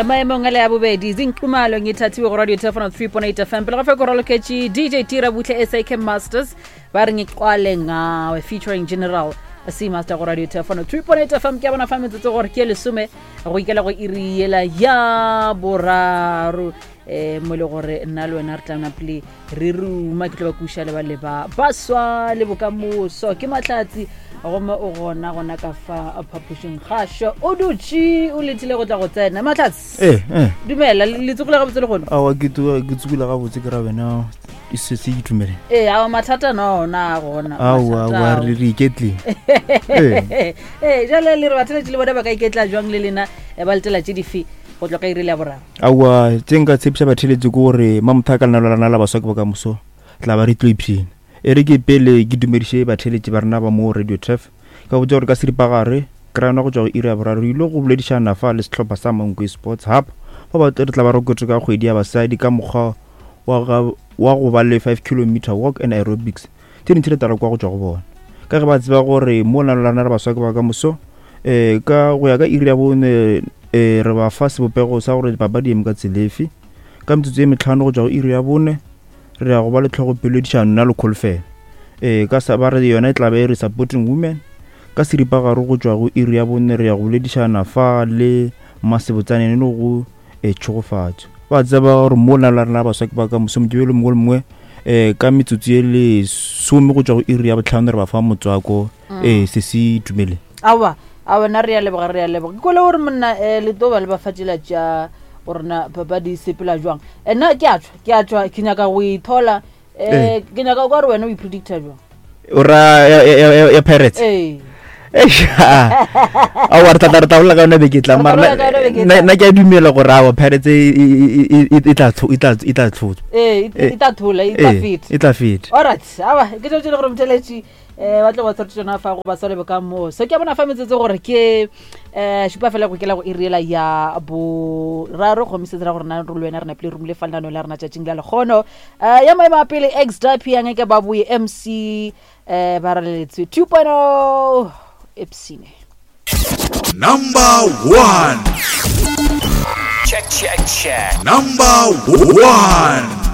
Maemong a le ya bobedi zinqumalo ngithathiwe go radio telefono 3.8 FM. Pele ga fa ko raloketše DJ Tira Butle SAK Masters ba re ngiqwale ngawe featuring General C Master go radio telefono 3.8 FM. Ke a bona fa metsotso gore ke lesome go ikela go iri yela ya boraro, mo e le gore nna le wena re tla napele re ruma. Ke tlo ba kuša le ba leba baswa le bokamoso. Ke Mahlatsi gomme o gona gona ka fa phapošing gašo, o dutše o letile go tla go tsena. Mahlatsi, dumela, le tsogile gabotse le gone? Awa, ke tsogile gabotse, ke ra wena e se se itumele. Ee, awa, mathata no ona gona. Aowa, aowa, re iketlile. Ee, jale le re batheletše le bona ba ka iketla jwang le lena, ba letela tše dife go tloga iri le ya boraro? Aowa, tše nka tshepiša batheletše ke gore mamotho a ka lena lona la baswa ke bokamoso tla ba re tlo ipshina. E re ke pele ke dumediše batheletši ba rena ba mo Radio Turf, ka botša gore ka seripagare krana go tšwa go iri ya boraro re ile go boledišana fa le sehlopha sa Mankwe Sports Hub ba ba re tla ba re kwetše ka kgwedi ya basadi ka mokgwa wa wa go ba le 5 kilometer walk and aerobics. Tše dintši re tla re kwa go tšwa go bona ka ge ba tseba gore mo lena lona re baswa ke ba ka moso. Ka go ya ka iri ya bone, re ba fa sebopego sa gore papadi eme ka tselefe. Ka metsotso e metlhano go tšwa go iri ya bone re ya go ba le tlhogopeledišano nna le kholofelo, ka sa ba re yona e tla be e re supporting women. Ka seripagare go tšwa go iri ya bone re ya go boledišana fa le Mmasebotsaneng le go tšhegofatšo. Ba tseba gore mo lena la rena baswa ke ba ka moso mokibelo mongwe le mongwe, ka metsotso e lesome go tšwa go iri ya botlhano re ba fa motswako. Se se itumele. Aowa, aowa, nna re ya leboga, re ya leboga. Ke kwele gore monna, le tlo ba le ba fa tšela tša gorena papadi e sepela jwang. Nna ke a tšwa, ke a tšwa, ke nyaka go ithola. Ke nyaka o ka re wena o ipredicta jwang? O ra ya Pirates? Ee. Aowa, re tla bolela ka yona beke e tlang, Re tla mara bolela ka yona beke e tlang. Nna ke a dumela gore aowa, Pirates e tla tlhotswa. Ee, e tla thola, e tla feta. E tla feta. Alright, aowa, ke tšo tše le gore motheletši ba tlo ba tshware tsona fa go ba swale bokamoso. Ke a bona fa metsotso gore ke šupa fela go kela go iriela ya boraro, gomme se dira gore nna le wena re napile romile fa lenaneo la rena tšatšing la lekgono. Ya maemo a pele ex dapiang ke ba boye MC, ba raleletswe 2.0 epsine. Number 1. Check, check, check. Number 1.